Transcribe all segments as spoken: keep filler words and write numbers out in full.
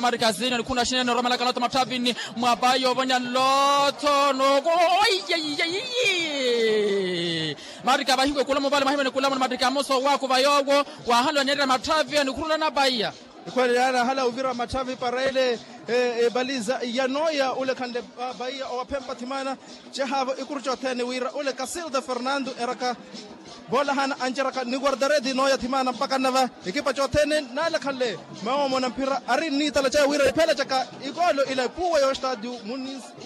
mphira marika zini anikhuna xinene oromelaka loto mathavini mwa bayi ovonya loto noko. Marika vahiwe kula muvale mahiwe nikula muna marika moso waku vayowo. Wahanle wanyeerya mathavi anikhurula na bayi. Ikhwele yaana hala ovira mathavi para ele. Ebaliza ya noya ule khanle bayi owaphempa thimana. Cehavo ikuru cothene wira ule kasilda fernando eraka. Voolahana anceraka ni guardaredi nooya thimana mpaka nnava. Ekipa cothene naalekhanle mawomo na mphira ari nniitala cawe wira ipheela caka. Ikoolo ila epuwa y'ostadio mu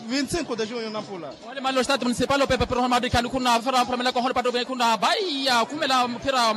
vinti cinco de junho nampula. Ole mali ostadio municipal opepa piroho maadikha nikhuna fera mpura milako holo pato nikhuna vaiya khumela mphira.